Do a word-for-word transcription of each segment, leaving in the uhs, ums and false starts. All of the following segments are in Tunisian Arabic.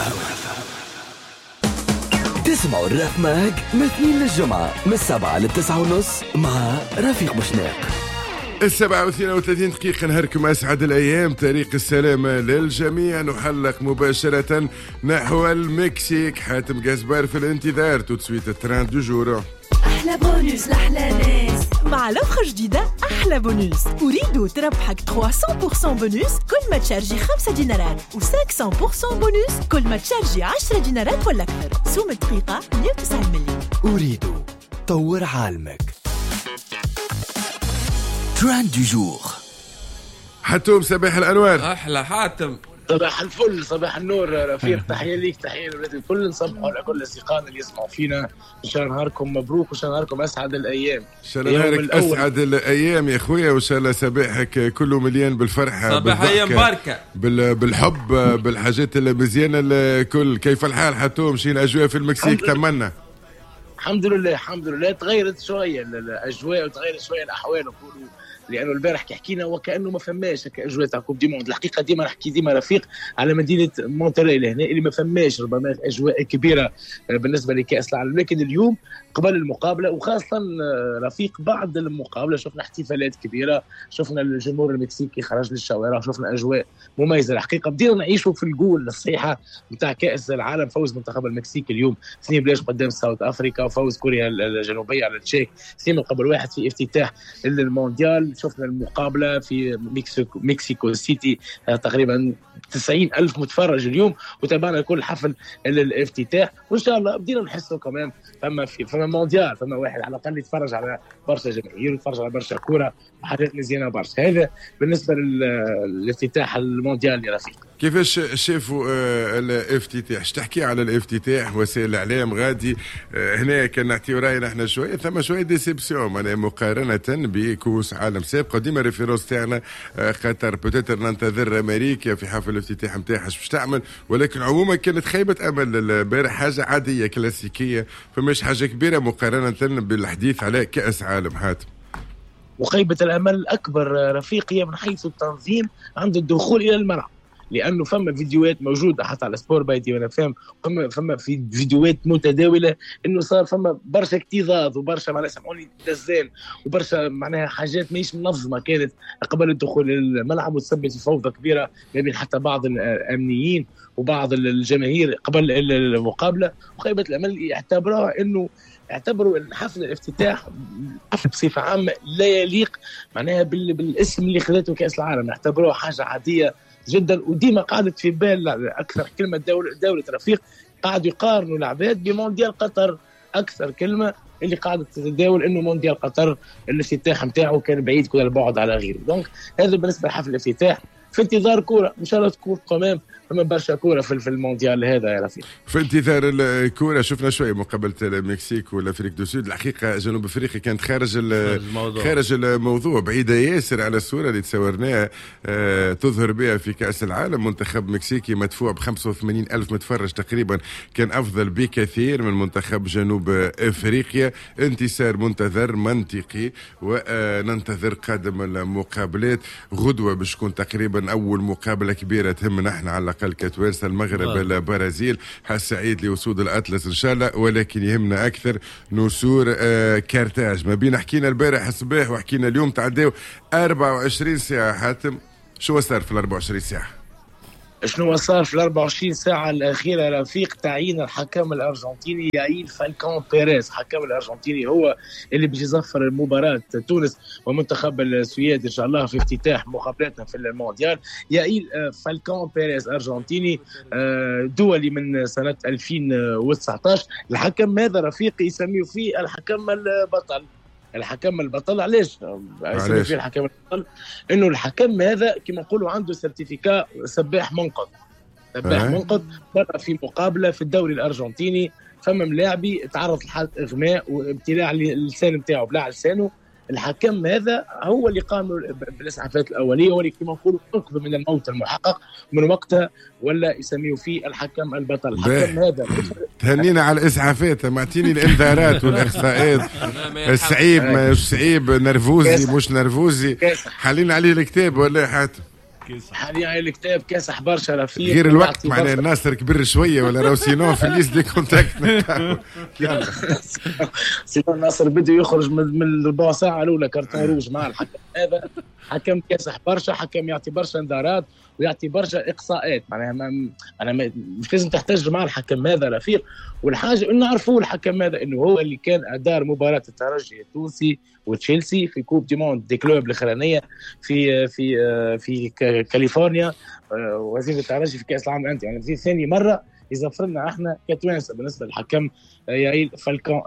اف ام. تسمعوا ال Raf Mag من اثنين للجمعة من السبعة للتسعة ونص مع رفيق بوشناق. السبعة واثنين وثلاثين دقيقة، نهاركم أسعد الأيام، طريق السلامة للجميع. نحلق مباشرة نحو المكسيك، حاتم جزبار في الانتظار. tout de suite ال trend du jour. احلى بونوس لاحلى ناس. مع l'offre جديدة احلى بونوس، أوريدو تربحك ثلاثمية بالمية بونوس كل ما تشارجي خمسة دينارات، و خمسمية بالمية بونوس كل ما تشارجي عشرة دينارات ولا أكثر. سوم الدقيقة مية وتسعين مليون. أوريدو، طور عالمك. trend du jour. حتوم، صباح الأنوار. احلى حاتم. صباح الفل، صباح النور رفيق، تحية ليك، تحية للولاد الكل، نصبحوا على كل اصدقائنا اللي يسمعوا فينا. ان شاء الله نهاركم مبروك وان شاء الله نهاركم اسعد الايام. ان شاء الله نهارك اسعد الايام يا خويا، وان شاء الله صباحك كله مليان بالفرحه. صباح ايام بركه. بالحب، بالحاجات المزيانه الكل. كيف الحال حتوم؟ شنو الاجواء في المكسيك؟ تمنى الحمد لله، الحمد لله، تغيرت شوية الاجواء وتغيرت شوية الاحوال نقولوا، لانه البارح كي حكينا وكانه ما فماش اجواء تاع coupe du monde. الحقيقة ديما نحكي ديما رفيق على مدينة مونتري لهنا اللي ما فماش ربما اجواء كبيرة بالنسبة لكاس العالم، لكن اليوم قبل المقابلة وخاصة رفيق بعد المقابلة شفنا احتفالات كبيره، شفنا الجمهور المكسيكي خرج للشوارع، شفنا اجواء مميزة. الحقيقة بدينا نعيشوا في الجول الصحيحة نتاع كاس العالم. فوز منتخب المكسيك اليوم اثنين بلاش قدام South Africa، وفوز كوريا الجنوبية على التشيك اثنين مقابل واحد في افتتاح المونديال. شفنا المقابلة في مكسيكو, مكسيكو سيتي، تقريبا تسعين ألف متفرج اليوم، وتابعنا كل حفل الافتتاح. وإن شاء الله بدينا نحسوا كمان فما في فما مونديال، فما واحد على الأقل يتفرج على برشا جماهير ويتفرج على برشا كورة وحاجات مزيانة برشا. هذا بالنسبة للافتتاح المونديال يا رفيق. كيفاش شافوا الافتتاح؟ اش تحكي على الافتتاح؟ وسائل الاعلام غادي هنا كان نعطيو راينا احنا شويه، ثم شوية déception معناها مقارنة بكؤوس عالم سابقه. ديما référence تاعنا قطر، peut-être ننتظر امريكا في حفل الافتتاح نتاعها باش تعمل، ولكن عموما كانت خيبه امل البارح، حاجة عادية كلاسيكيه، فماش حاجة كبيرة مقارنة بالحديث على كاس عالم. حاتم. وخيبه الامل الاكبر رفيق هي من حيث التنظيم عند الدخول الى الملعب، لانه فما فيديوهات موجودة حتى على Sport by ديوان اف ام، فما فما في فيديوهات متداوله انه صار فما برشا اكتظاظ وبرشا معناها سامحوني دزان وبرشا معناها حاجات ماهيش منظمة كانت قبل الدخول للملعب، وتسببت في فوضى كبيرة ما بين حتى بعض الامنيين وبعض الجماهير قبل المقابلة. وخيبه الامل يعتبروها انه اعتبروا حفل الافتتاح بصفة عامة لا يليق معناها بالاسم اللي خذته كاس العالم، اعتبروها حاجة عادية جدا. وديما قعدت في بال اكثر كلمة دولة, دولة رفيق، قعدوا يقارنوا العباد بمونديال قطر، اكثر كلمة اللي قاعدة تتداول انه مونديال قطر الافتتاح نتاعو كان بعيد كل البعد على غيره. donc هذا بالنسبة لحفل الافتتاح. في انتظار كورة ان شاء الله تكون quand même فما برشا كورة في المونديال هذا يا رفيق. في انتظار الكورة. شفنا شوية مقابله المكسيك وال Afrique du Sud، الحقيقة جنوب افريقيا كانت خارج الموضوع، خارج الموضوع، بعيدة ياسر على الصورة اللي تصورناها آه تظهر بها في كاس العالم. منتخب مكسيكي مدفوع ب خمسة وثمانين ألف متفرج تقريبا كان افضل بكثير من منتخب جنوب افريقيا. انتصار منتظر منطقي، وننتظر قادم المقابلات. غدوه باش تكون تقريبا اول مقابله كبيرة تهمنا احنا على الاقل كتوانسه، المغرب البرازيل. حظ سعيد لاسود الاطلس ان شاء الله، ولكن يهمنا اكثر نسور آه كارتاج. ما بين حكينا البارح الصباح وحكينا اليوم تعداو أربعة وعشرين ساعة. حاتم، شو صار في ال أربعة وعشرين ساعة؟ شنو صار في ال أربعة وعشرين ساعة الأخيرة رفيق؟ تعيين الحكم الأرجنتيني يائيل فالكون بيريز، حكم الأرجنتيني هو اللي باش يصفر المباراة تونس ومنتخب السويد إن شاء الله في افتتاح مقابلاتنا في المونديال. يائيل فالكون بيريز أرجنتيني دولي من سنة ألفين وتسعطاش. الحكم هذا رفيق يسميه فيه الحكم البطل. الحكم البطل علاش يسميه فيه الحكم البطل؟ انه الحكم هذا كما نقولوا عنده certificat سباح منقذ، سباح منقذ. مرة في مقابله في الدوري الارجنتيني فما ملاعبي تعرض لحاله اغماء وابتلاع اللسان نتاعو، بلع لسانه. الحكم هذا هو اللي قام بالاسعافات الاولية، هو اللي كما نقولوا انقذ من الموت المحقق. من وقتها ولا يسميه فيه الحكم البطل. الحكم هذا تهنينا على الاسعافات، معتيني الانذارات والاخصائيات. الصعيب مش صعيب، نرفوزي مش نرفوزي، حالين عليه الكتاب ولا حاتم؟ حاليا الكتاب كاسح برشا رفيق، غير الوقت معناها الناصر كبر شوية ولا راهو sinon في ال liste des contacts. يلا sinon الناصر بده يخرج من الربع ساعة الاولى carton rouge مع الحكم هذا. حكم كاسح برشا، حكم يعطي برشا انذارات ويعطي برشا اقصاءات، معناها ما انا مش لازم تحتج مع الحكم هذا رفيق. والحاجة انه نعرفوه الحكم هذا انه هو اللي كان ادار مباراة الترجي التونسي وتشيلسي في Coupe du monde des clubs الاخرانية في في في كاليفورنيا، وزير الترجي في كاس العالم للاندية، يعني في ثاني مرة يزفر لنا احنا كتوانسه بالنسبة للحكم يائيل فالكون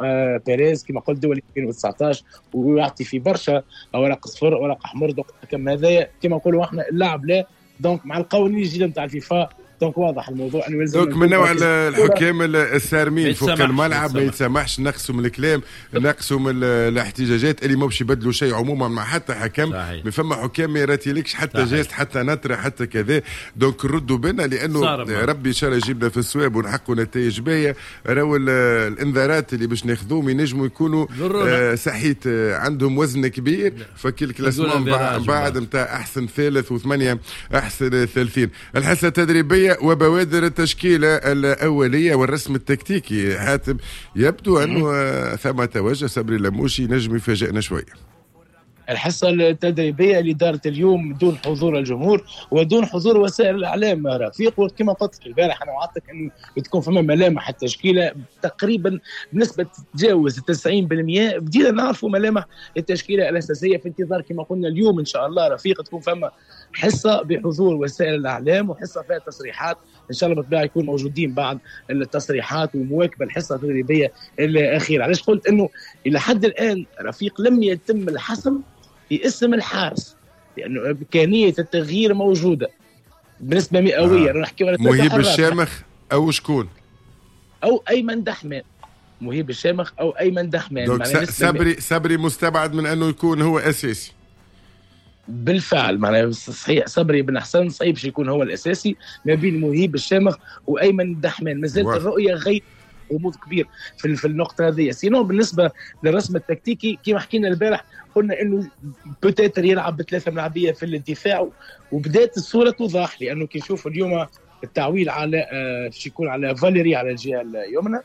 بيريز كما قلت دولي ألفين وتسعطاش، ويعطي في برشا اوراق صفر اوراق احمر. donc الحكم هذايا كما نقولوا احنا اللاعب لا، donc مع القوانين الجديدة نتاع الفيفا donc واضح الموضوع انه يلزم donc من نوع الحكام الصارمين فوق الملعب ما يتسامحش، نقصوا من الكلام، نقصوا من الاحتجاجات اللي ما باش يبدلوا شيء عموما مع حتى حكم. ما فما حكام ما يراتيلكش حتى geste حتى نطره حتى كذا، donc ردوا بنا لانه ربي ان شاء الله يجيبنا في الصواب ونحققوا نتائج باهيه. راهو الانذارات اللي باش ناخذوهم ينجموا يكونوا آه صحيت آه عندهم وزن كبير، فكل classement بعد نتاع احسن ثالث وثمانية احسن ثالثين. الحصة التدريبية وبوادر التشكيلة الأولية والرسم التكتيكي حاتم، يبدو أنه ثم توجه صبري لموشي نجم يفاجئنا شوية. الحصة التدريبية اللي دارت اليوم دون حضور الجمهور ودون حضور وسائل الإعلام رفيق، وكما قلت لك البارح أنا وعدتك أنه بتكون فما ملامح التشكيلة تقريبا بنسبة تتجاوز تسعين بالمئة، بدينا نعرفوا ملامح التشكيلة الأساسية في انتظار كما قلنا اليوم إن شاء الله رفيق تكون فما حصة بحضور وسائل الإعلام وحصة فيها تصريحات إن شاء الله بالطبيعة يكون موجودين بعد التصريحات ومواكبة الحصة التدريبية الأخيرة. علاش قلت أنه إلى حد الآن رفيق لم يتم الحسم في اسم الحارس، لأنه إمكانية التغيير موجودة بنسبة مئوية. آه. نحكي على مهيب الشامخ أو شكون؟ أو أيمن دحمان، مهيب الشامخ أو أيمن دحمان. صبري صبري مستبعد من أنه يكون هو أساسي. بالفعل معناها صحيح صبري بن حسن صعيب باش يكون هو الاساسي ما بين مهيب الشامخ وايمن دحمان، مازالت الرؤية غير غموض كبير في في النقطة هذه. sinon بالنسبة للرسم التكتيكي كما حكينا البارح قلنا انه peut-être يلعب بثلاثة ملاعبيه في الدفاع، وبدات الصورة توضح لانه كي نشوف اليوم التعويل على باش يكون على فاليري على الجهة اليمنى،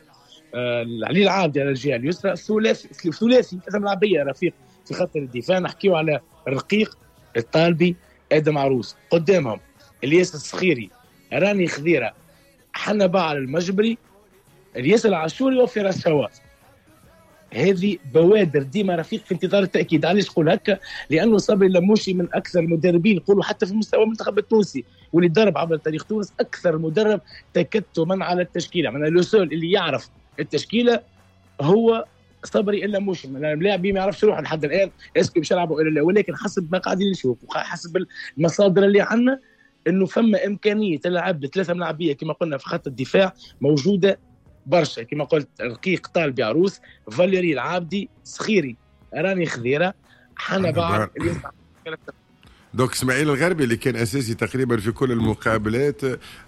علي العابدي على الجهة اليسرى، ثلاثي ثلاثي ثلاثة ملاعبيه رفيق في خط الدفاع. نحكيو على الرقيق الطالبي ادم عروس، قدامهم الياس الصخيري، راني خذيره، حنبعل المجبري، الياس العاشوري وفراس شواط. هذه بوادر ديما رفيق في انتظار التاكيد. علاش نقول هكا؟ لانه صبري لموشي من اكثر المدربين نقولوا حتى في مستوى المنتخب التونسي واللي درب عبر تاريخ تونس اكثر مدرب تكتما على التشكيلة، معناها le seul اللي يعرف التشكيلة هو صبري اللموشي. اللاعب ما يعرفش روحه لحد الان est-ce que باش يلعبوا ولا لا، ولكن حسب ما قاعدين نشوف وحسب المصادر اللي عندنا انه فما امكانية تلعب بثلاثة ملاعبيه كما قلنا في خط الدفاع موجودة برشا، كما قلت رقيق طالبي عروس، فاليري العابدي، صخيري، راني خذيره، حنبعل. donc اسماعيل الغربي اللي كان اساسي تقريبا في كل المقابلات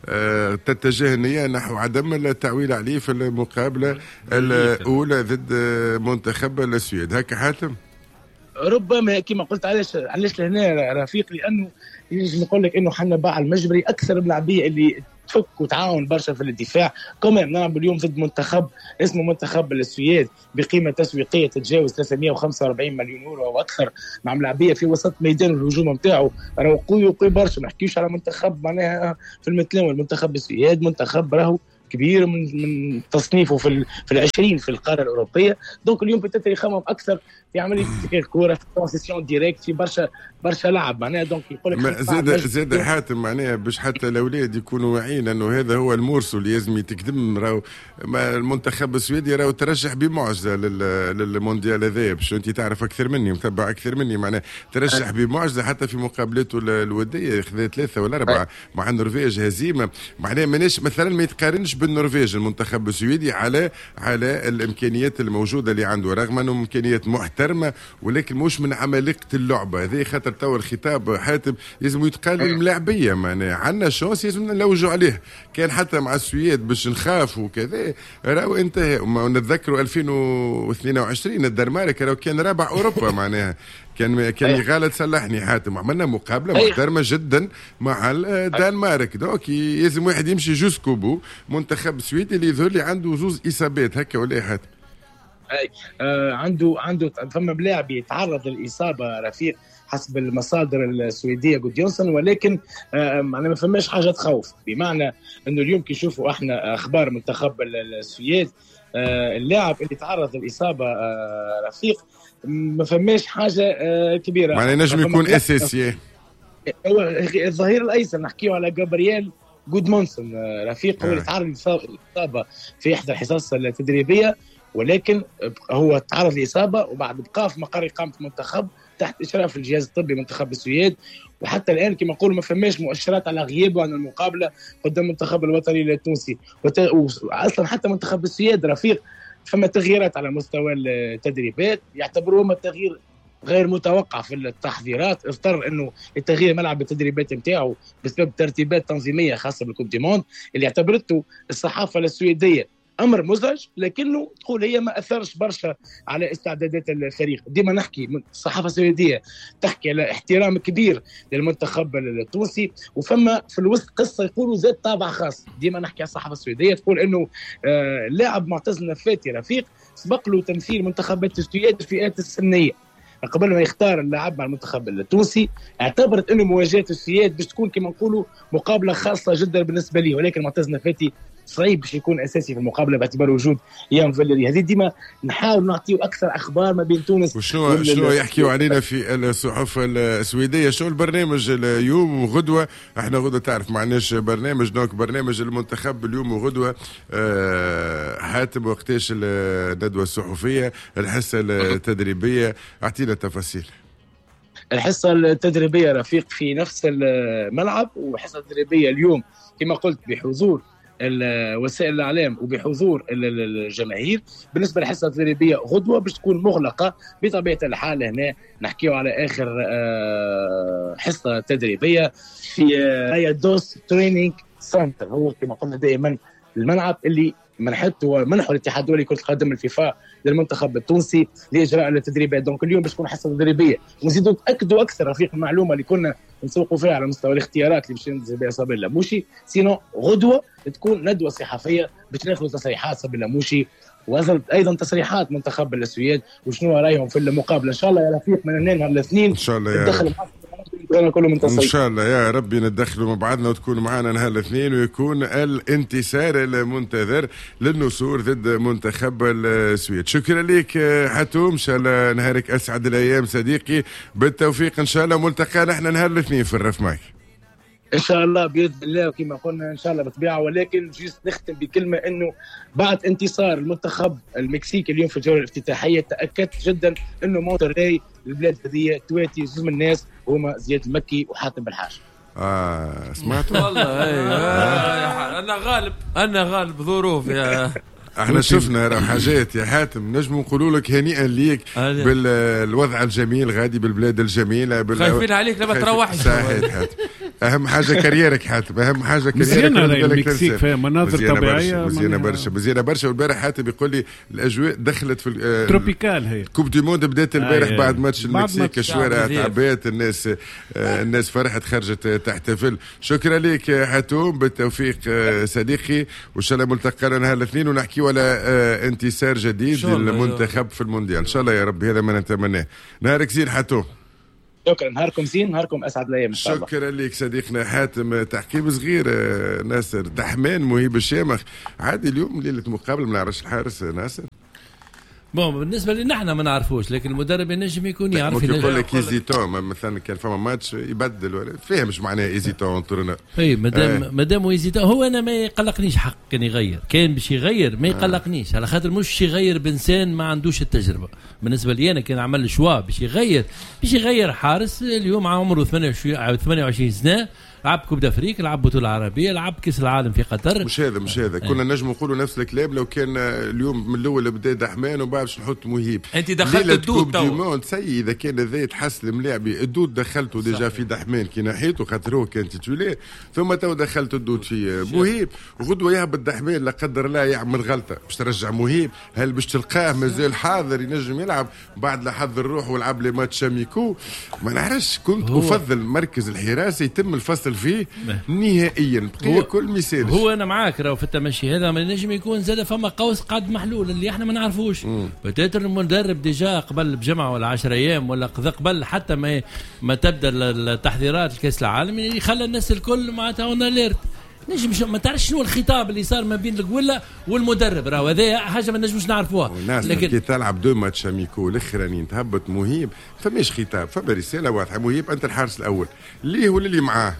آه تتجه النية نحو عدم التعويل عليه في المقابلة الاولى ضد منتخب السويد. هكا حاتم؟ ربما كما قلت. علاش علاش لهنا رفيق؟ لانه يجي نقول لك انه حنبعل المجبري اكثر الملاعبيه اللي تفك وتعاون برشا في الدفاع. كمان نلعب اليوم ضد منتخب اسمه منتخب السويد بقيمة تسويقية تتجاوز ثلاثمئة وخمسة وأربعين مليون يورو او اكثر، مع ملاعبيه في وسط ميدان الهجوم نتاعو راهو قوي وقوي برشا. ما نحكيوش على منتخب معناها في المتناول، منتخب السويد منتخب راهو كبير من من تصنيفه في في العشرين في القارة الاوروبية. donc اليوم peut-être يخمم اكثر في عملية الكره، في transition directe، في برشا برشا لعب معناها. donc يقول لك زاد زاد حاتم معناها باش حتى الاولاد يكونوا واعيين انه هذا هو ال morceau اللي لازم يتقدم. راهو المنتخب السويدي راهو ترشح بمعجزه للمونديال هذايا، باش انت تعرف اكثر مني متبع اكثر مني، معناها ترشح بمعجزه حتى في مقابلاته الودية، خذا ثلاثة ولا اربعة مع النرويج هزيمة. معناها ماناش مثلا ما يتقارنش بالنرويج المنتخب السويدي على على الامكانيات الموجودة اللي عنده، رغم انه امكانيات محترمه محترمه، ولكن مش من عمالقة اللعبة هذه. خاطر تو الخطاب حاتم لازم يتقال للملاعبيه، معناها عندنا chance لازم نلوجوا عليه، كان حتى مع السويد باش نخاف وكذا راهو انتهى. ونتذكروا ألفين واثنين وعشرين الدنمارك راهو كان رابع اوروبا معناها كان كان غلط صلحني حاتم، عملنا مقابله محترمه جدا مع الدنمارك. donc لازم واحد يمشي jusqu'au bout. منتخب السويد اللي يظهر لي عنده زوز اصابات هكا ولا حاتم؟ اي آه عنده عنده فما ملاعب يتعرض للاصابة رفيق حسب المصادر السويدية جوديونسون، ولكن آه ما فماش حاجة تخوف، بمعنى انه اليوم كي نشوفوا احنا اخبار منتخب السويد آه اللاعب اللي تعرض للاصابة آه رفيق ما فماش حاجة آه كبيرة، معناها نجم يكون اساسي. هو الظهير الايسر نحكيو على جابرييل جودمونسون رفيق، هو اللي تعرض للاصابة في احدى الحصص التدريبية، ولكن هو تعرض لاصابة وبعد بقى في مقر اقامه المنتخب تحت اشراف الجهاز الطبي منتخب السويد، وحتى الان كما نقولوا ما فماش مؤشرات على غيابه عن المقابلة قدام المنتخب الوطني التونسي. واصلا حتى منتخب السويد رفيق فما تغييرات على مستوى التدريبات، يعتبروهم التغيير غير متوقع في التحضيرات، اضطر انه التغيير ملعب التدريبات نتاعو بسبب ترتيبات تنظيميه خاصة بال Coupe du monde اللي اعتبرته الصحافة السويدية امر مزعج، لكنه تقول هي ما اثرش برشا على استعدادات الفريق. ديما نحكي الصحافة السويدية تحكي على احترام كبير للمنتخب التونسي، وفما في الوسط قصة يقولوا زاد طابع خاص. ديما نحكي على الصحافة السويدية تقول انه اللاعب معتز النفاتي رفيق سبق له تمثيل منتخبات السويد في الفئات السنية قبل ما يختار اللاعب مع المنتخب التونسي، اعتبرت انه مواجهة السويد باش تكون كما نقولوا مقابله خاصة جدا بالنسبة ليه، ولكن معتز النفاتي صعيب باش يكون اساسي في المقابلة باعتبار وجود يان فاليري. هذه ديما نحاول نعطيو اكثر اخبار ما بين تونس وشنو شنو يحكيوا علينا في الصحف السويدية. شنو البرنامج اليوم وغدوه؟ احنا غدوه تعرف ما عندناش برنامج، donc برنامج المنتخب اليوم وغدوه أه حاتم وقتاش الندوة الصحفية، الحصة التدريبية، اعطينا تفاصيل. الحصة التدريبية رفيق في نفس الملعب، وحصه تدريبية اليوم كما قلت بحضور وسائل الاعلام وبحضور الجماهير. بالنسبة للحصه التدريبية غدوه باش تكون مغلقة بطبيعة الحال. هنا نحكيو على اخر حصة تدريبية في دوس training center، هو كما قلنا دائما الملعب اللي منحته منحه الاتحاد الدولي كره القدم الفيفا للمنتخب التونسي لاجراء التدريبات. donc اليوم باش تكون حصة تدريبية، ونزيدوا نتاكدوا اكثر رفيق المعلومة اللي كنا نسوقوا فيها على مستوى الاختيارات اللي باش ينزل بها صابر لاموشي. sinon غدوه تكون ندوه صحفية باش ناخذ تصريحات صابر لاموشي وايضا تصريحات منتخب السويد وشنو رايهم في المقابلة. ان شاء الله يا رفيق من هنا نهار الاثنين ان شاء الله يا ان شاء الله يا ربي ندخلوا مع بعضنا وتكون معنا نهار الاثنين ويكون الانتصار المنتظر للنسور ضد منتخب السويد. شكرا لك حتوم، ان شاء الله نهارك اسعد الايام صديقي، بالتوفيق ان شاء الله. ملتقى نحن نهار الاثنين في الرف معك ان شاء الله باذن الله، وكما قلنا ان شاء الله بالطبيعة. ولكن juste نختم بكلمه انه بعد انتصار المنتخب المكسيكي اليوم في الجولة الافتتاحيه تاكدت جدا انه مونتري البلاد هذه تواتي زوج من الناس هما زياد المكي وحاتم بالحاج. اه سمعتوا والله. آه. انا غالب انا غالب ظروف يا احنا شفنا راه حاجات يا حاتم، نجم نقولوا لك هنيئا ليك بالوضع الجميل غادي بالبلاد الجميلة بال... خايفين عليك لما تروحش. صحيح حاتم، اهم حاجة carrière ك حاتم، اهم حاجة carrière ك. مزيانه المكسيك فيها مناظر طبيعية مزيانه برشا مزيانه برشا. والبارح حاتم يقول لي الاجواء دخلت في tropicale، هي Coupe du monde بدات البارح آه بعد ماتش المكسيك، الشوارع تعبات، الناس الناس فرحت خرجت تحتفل. شكرا لك حاتم، بالتوفيق صديقي، وان شاء الله ملتقانا نهار الاثنين ونحكيو على انتصار جديد للمنتخب في المونديال ان شاء الله يا رب، هذا ما نتمناه. نهارك زين حاتم. شكرا، نهاركم زين، نهاركم اسعد الايام ان شاء الله. شكرا لك صديقنا حاتم. تحكيم صغير ناصر دحمان مهيب الشامخ عادي اليوم ليلة مقابله ما نعرفش الحارس ناصر. bon بالنسبة لنا احنا ما نعرفوش، لكن المدرب ينجم يكون يعرف. ممكن يقول لك hésitant مثلا، كان فما ماتش يبدل ولا فاهم مش معناها hésitant entraîneur. اي مادام مادام hésitant هو انا ما يقلقنيش حق كان يغير، كان باش يغير ما يقلقنيش، على خاطر مش يغير بانسان ما عندوش التجربة. بالنسبة لي انا كان عمل choix باش يغير، باش يغير حارس اليوم عمره ثمانية وعشرين سنة، لعب Coupe d'Afrique، لعب بطوله عربية، لعب كاس العالم في قطر. مش هذا مش هذا كنا نجم نقولوا نفس الكلام لو كان اليوم من الاول بدا دحمان وبعد باش نحط مهيب. انت دخلت ال doute تو سي اذا كان هذا يتحس الملاعبي ال doute دخلته déjà في دحمان كي نحيته خاطر هو كان titulaire، ثم تو دخلت ال doute في مهيب، غدوه يهبط دحمان لا قدر الله يعمل غلطه باش ترجع مهيب، هل باش تلقاه مازال حاضر ينجم يلعب بعد لا حضر روحه ولعب les matchs amicaux؟ ما نعرفش. كنت افضل مركز الحراسة يتم الفصل فيه نهائيا بقية كل مثال. هو انا معاك راهو في التمشي هذا، ما نجم يكون زاد فما قوس قاعد محلول اللي احنا ما نعرفوش. peut-être المدرب déjà قبل بجمعه ولا عشرة ايام ولا قبل حتى ما ما تبدا التحضيرات الكاس العالم يخلى الناس الكل معناتها en alerte. نجم ما تعرفش شنو الخطاب اللي صار ما بين القوله والمدرب، راهو هذا حاجة ما نجموش نعرفوها. لكن كي تلعب deux matchs amicaux الاخرانيين تهبط مهيب، فماش خطاب، فما رسالة واضحة، مهيب انت الحارس الاول ليه ولا اللي معاه.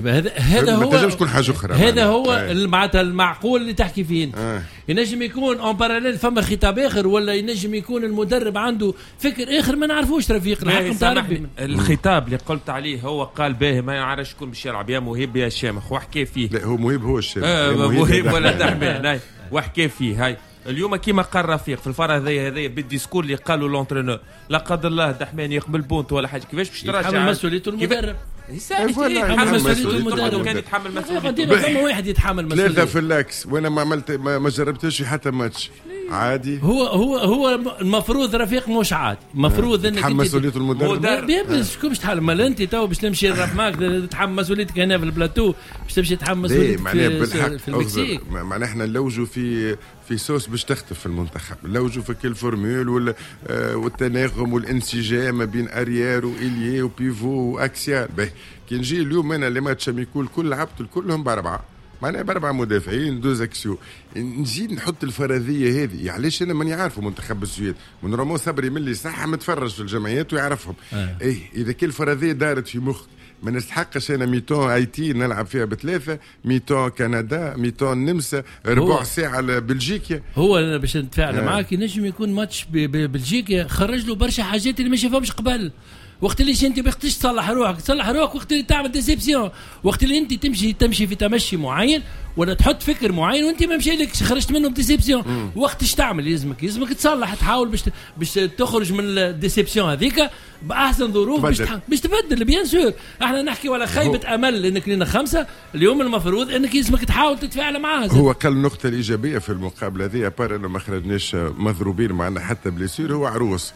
هذا هذا هو، ما تنجمش تكون حاجة اخرى. هذا هو معناتها المعقول اللي تحكي فيه انت. آه. ينجم يكون en parallèle فما خطاب اخر، ولا ينجم يكون المدرب عنده فكر اخر ما نعرفوش رفيق. الحق نتاع ربي الخطاب اللي قلت عليه هو قال باهي ما يعرفش شكون باش يلعب، يا مهيب يا شامخ، وحكى فيه. لا هو مهيب هو الشامخ، آه مهيب ولا دحمان، وحكى فيه. هاي اليوم كيما قال رفيق في الفرع هذايا هذايا بال discours اللي قالوا l'entraîneur، لا قدر الله دحمان يقبل but ولا حاجة، كيفاش باش تراجع؟ يتحمل مسؤوليته المدرب. يتحمل مسؤوليته المدرب، كان يتحمل مسؤوليته. فما واحد يتحمل مسؤوليته. ثلاثة في l'axe وانا ما عملت ما, ما جربتش حتى ماتش عادي. هو هو هو المفروض رفيق مش عادي، المفروض انك تتحمل مسؤولية المدرب. شكون باش تحمل؟ ما انت تو باش تمشي الراب معك تتحمل مسؤوليتك هنا في البلاتو، باش تمشي تتحمل مسؤوليتك في, في المكسيك. معناها احنا نلوجوا في في سوس باش تختف في المنتخب، نلوجوا في كل formule وال والتناغم والانسجام ما بين arrière و ailier و pivot و axial. باهي كي نجي اليوم انا les matchs amicaux الكل لعبت كلهم باربعة، معناها باربعة مدافعين deux axiaux، نجي نحط الفرضية هذه. علاش انا ماني عارفه منتخب السويد من رامو صبري من اللي صح متفرج في الجمعيات ويعرفهم. آه. ايه اذا كل فرضية دارت في مخك ما نستحقش انا mi-temps هايتي نلعب فيها بثلاثة، mi-temps كندا، mi-temps النمسا، ربع ساعة لبلجيكا. هو انا باش نتفاعل آه. معاك، ينجم يكون ماتش ببلجيكا خرج له برشا حاجات اللي ما شافهمش قبل. وقت اللي انت بختش تصلح روحك، تصلح روحك وقت اللي تعمل déception، وقت اللي انت تمشي تمشي في تمشي معين ولا تحط فكر معين وانت ما مشيلكش خرجت منه ب déception. وقت اش تعمل؟ يلزمك يلزمك تصلح، تحاول باش باش تخرج من ال déception هذيك باحسن ظروف باش باش تبدل. bien sûr احنا نحكي ولا خيبه امل انك لنا خمسة اليوم، المفروض انك يلزمك تحاول تتفاعل معاها. هو قال النقطة الايجابية في المقابلة هذه à part انه ما خرجناش مضروبين معنا حتى blessure، هو عروس.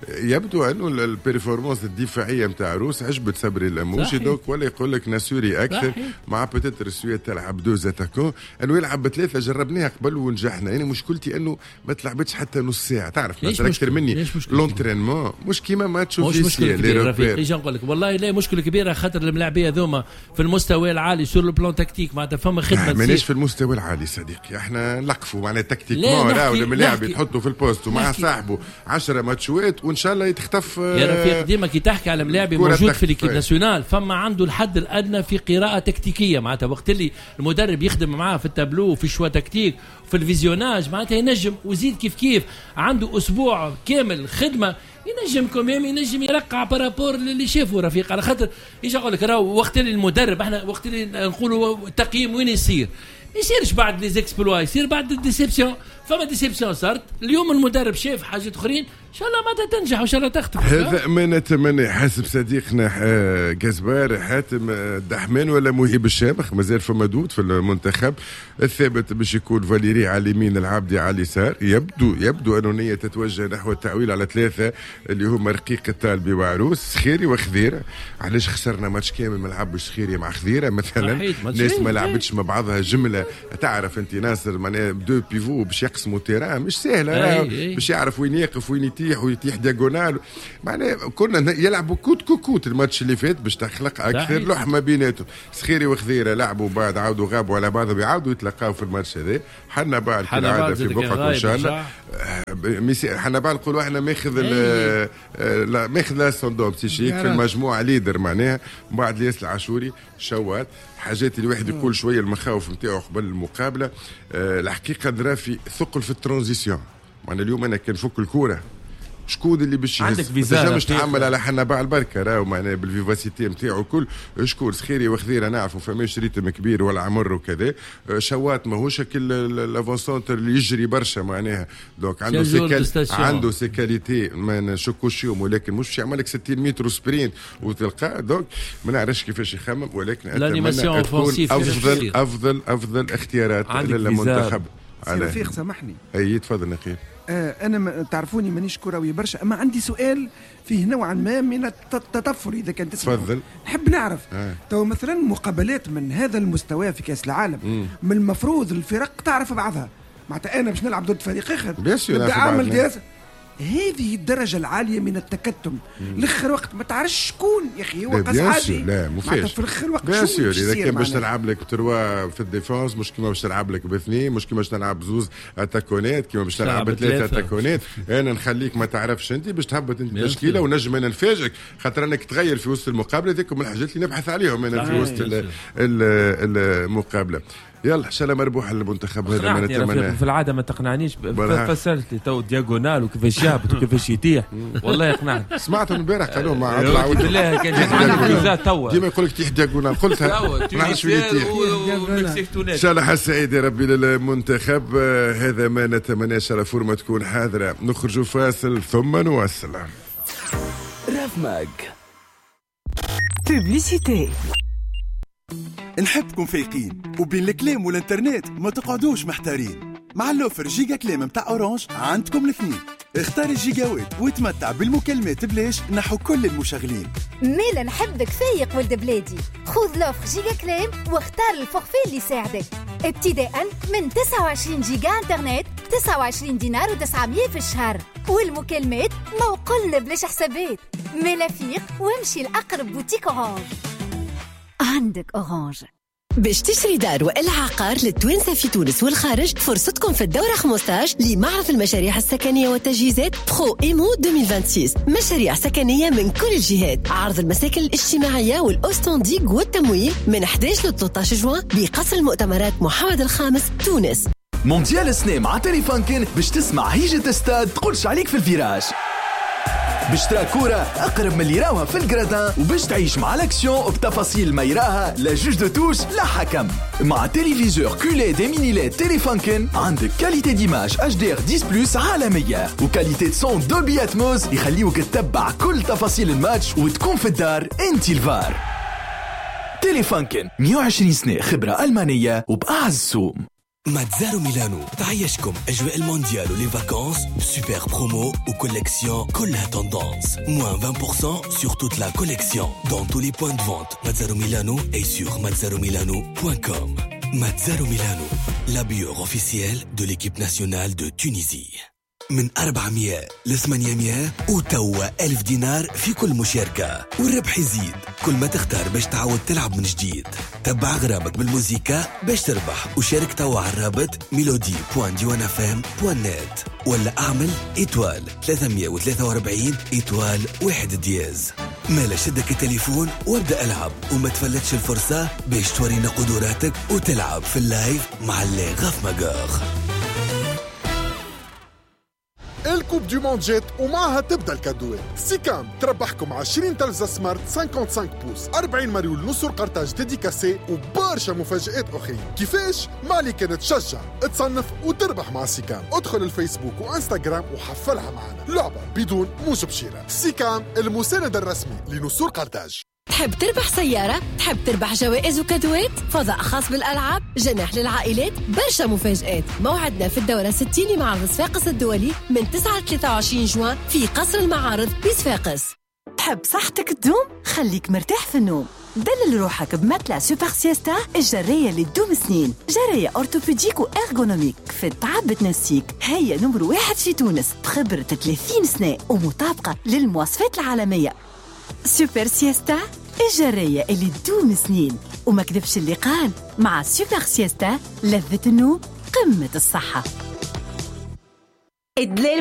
يبدو انه ال performance الدفاعية نتاع عروس عجبت صبري اللموشي، donc ولا يقول لك ناسوري اكثر مع peut-être السويد تلعب deux attaquants، انه يلعب بثلاثة جربناها قبل ونجحنا. يعني مشكلتي انه ما تلعبتش حتى نص ساعة، تعرف اكثر مني l'entraînement مش كيما ماتش مش مشكلة كبيرة رفيق. ايش نقول لك والله لا مشكلة كبيرة، خاطر الملاعبيه ذوما في المستوى العالي sur le plan tactique معناتها فما خدمة. مانيش في المستوى العالي صديقي، احنا نلقفوا معناها tactiquement راهو الملاعب يتحطوا في ال poste ومع صاحبه عشرة ماتشوات وان شاء الله يتخطف. يا رفيق ديما كي تحكي على ملاعبي موجود في l'équipe nationale فما عنده الحد الادنى في قراءة تكتيكية، معناتها وقت اللي المدرب يخدم معاه في التابلو وفي choix tactique وفي ال visionnage معناتها ينجم. وزيد كيف كيف عنده اسبوع كامل خدمة ينجم quand même ينجم يرقع par rapport اللي شافه رفيق. على خاطر ايش اقول لك راهو وقت اللي المدرب احنا وقت اللي نقولوا التقييم وين يصير، يصيرش بعد les exploits، يصير بعد ال déception. فما déception صارت اليوم، المدرب شاف حاجات اخرين، ان شاء الله ما تنجح وان شاء الله تخطف. هذا ما نتمنى. حسب صديقنا جزبار حاتم دحمان ولا مهيب الشامخ مازال فما doute في المنتخب الثابت باش يكون فاليري على اليمين العابدي على اليسار. يبدو يبدو انه نية تتوجه نحو التعويل على ثلاثة اللي هما رقيق الطالبي وعروس سخيري وخذيره. علاش خسرنا ماتش كامل ما لعبش سخيري مع خذيره مثلا؟ ناس ما لعبتش مع بعضها جملة. تعرف انت ناصر معناها deux pivots باش يقسموا terrain مش سهلة، باش يعرف وين يقف وين يتيح ويتيح diagonale. معناها كنا يلعبوا coûte que coûte الماتش اللي فات باش تخلق اكثر لحمه بيناتهم. سخيري وخذيره لعبوا بعد عاودوا غابوا على بعضهم يعاودوا يتلاقاو في الماتش هذا. حنا بعد كالعادة في بقعة ان شاء الله حنا بعد نقولوا احنا ماخذ لا ماخذ l'ascendant psychique في المجموعة leader معناها. بعد الياس العاشوري شوات حاجات اللي الواحد يقول شوية المخاوف نتاعو قبل المقابلة. أه الحقيقة درا في ثقل في ال transition. معناها اليوم انا كان فك الكورة شكون اللي باش عندك فيزا مش تعمل على حنبعل بركة، راهو معناها بال vivacité نتاعو كل شكون سخيري وخذيره نعرفوا فماش rythme كبير ولا عمر وكذا. شوات ماهوش l'avant-centre اللي يجري برشا معناها، donc عنده ses عنده ses qualités ما نشكوش فيهم، ولكن مش باش يعمل لك ستين متر sprint وتلقاه. donc ما نعرفش كيفاش يخمم، ولكن اتمنى تكون افضل افضل افضل اختيارات للمنتخب. رفيق سامحني. اي تفضل نقيب. آه انا تعرفوني مانيش كروي برشا، اما عندي سؤال فيه نوعا ما من التطفل اذا كان تسمح. تفضل. نحب نعرف آه. تو مثلا مقابلات من هذا المستوى في كاس العالم مم. من المفروض الفرق تعرف بعضها، معناتها انا باش نلعب ضد فريق اخر نبدا اعمل دراسة. هذه الدرجة العالية من التكتم الاخر وقت ما تعرفش شكون يا اخي هو قاس عادي. لا مو في الاخر وقت bien sûr اذا كان باش تلعب لك trois في ال défense مش كيما باش تلعب لك باثنين، مش كيما باش تلعب بزوز اتاكونات، كيما باش تلعب بثلاثة اتاكونات. انا نخليك ما تعرفش انت باش تهبط انت تشكيله ونجم انا نفاجئك، خاطر انك تغير في وسط المقابلة. ذيك من الحاجات اللي نبحث عليهم انا في وسط المقابلة. يلا ان شاء الله مربوح المنتخب هذا ما نتمناه. في العادة ما تقنعنيش، فسرت لي تو diagonale وكيفاش يهبط وكيفاش يطيح، والله يقنعني. سمعتهم البارح قالوا مع طلعوا بالله كان جات عندك فيزا توا ديما يقول لك تيح diagonale، قلتها ما نعرفش وين يطيح. ان شاء الله حظ سعيد يا ربي للمنتخب، هذا ما نتمناه. ان شاء الله forme تكون حاضره. نخرجوا فاصل ثم نواصل. راف ماك publicité. نحبكم فايقين وبين الكلام والانترنت ما تقعدوش محتارين. مع l'offre giga كلام متاع Orange عندكم الاثنين. اختار الجيجاوات وتمتع بالمكالمات بلاش نحو كل المشغلين. ميلا نحبك فايق ولد بلادي، خذ l'offre giga كلام واختار ال forfait اللي يساعدك، ابتداء من تسعة وعشرين جيجا انترنت تسعة وعشرين دينار وتسعمية في الشهر، والمكالمات موقل بلاش حسابات. ميلا فيق وامشي لأقرب boutique Orange. عندك Orange. باش تشتري دار وإلا عقار للتوانسة في تونس والخارج، فرصتكم في الدورة خمسطاش لمعرض المشاريع السكنية والتجهيزات Pro Immo ألفين وستة وعشرين. مشاريع سكنية من كل الجهات، عرض المساكن الاجتماعية وال haut standing والتمويل من إحداش ل ثلاثة عشر جوان بقصر المؤتمرات محمد الخامس تونس. مونديال السنة مع Telefunken باش تسمع هيجة استاد تقولش عليك في ال virage، باش ترى كورة أقرب من اللي راوها في ال gradins، وباش تعيش مع l'action بتفاصيل ما يراها لا juge de touche لا حكم. مع téléviseur QLED mini LED Telefunken عندك qualité d'image إتش دي آر عشرة plus عالمية و qualité son Dolby Atmos يخليوك تتبع كل تفاصيل الماتش وتكون في الدار انت الفار. Telefunken مية وعشرين سنة خبرة ألمانية وبأعز سوم. Mazzaro Milano تعيشكم أجواء المونديال و les vacances ب super promo و collection كلها tendance. Moins vingt pour cent sur toute la collection dans tous les points de vente Mazzaro Milano et sur mazzaro milano point com. Mazzaro Milano, l'habilleur officiel de l'équipe nationale de Tunisie. من أربعمية ل ثمانمية وتوا ألف دينار في كل مشاركة، والربح يزيد كل ما تختار باش تعاود تلعب من جديد. تبع غرامك بالموزيكا باش تربح، وشارك توا على الرابط mélodie point diwan FM point net ولا اعمل étoile ثلاثمية وثلاثة وأربعين étoile واحد dièse. مالا شدك التليفون وابدأ العب وما تفلتش الفرصة باش تورينا قدراتك وتلعب في ال live مع les Raf Magueurs. ال Coupe du monde جات ومعها تبدا الكادوات. سيكام تربحكم عشرين تلفزة smart خمسة وخمسين pouces، أربعين مريول نصر قرطاج dédicacé وبرشا مفاجآت أخرى. كيفاش؟ مالي كانت تشجع تصنف وتربح مع سيكام. ادخل الفيسبوك وانستغرام وحفلها معنا. لعبة بدون موجب شراء. سيكام المساند الرسمي لنسور قرطاج. تحب تربح سيارة؟ تحب تربح جوائز وكادوات؟ فضاء خاص بالألعاب، جناح للعائلات، برشا مفاجآت. موعدنا في الدورة ستين لمعرض صفاقس الدولي من تسعة ل ثلاثة وعشرين جوان في قصر المعارض بصفاقس. تحب صحتك تدوم؟ خليك مرتاح في النوم. دلل روحك ب matelas Super Siesta الجرية اللي تدوم سنين. جرية orthopédique و ergonomique في التعب تنسيك. هي نمر واحد في تونس بخبرة ثلاثين سنة ومطابقة للمواصفات العالمية. Super Siesta الجرية اللي تدوم سنين، وما كذبش اللي قال مع Super Siesta لذة النوم قمة الصحة. الدلال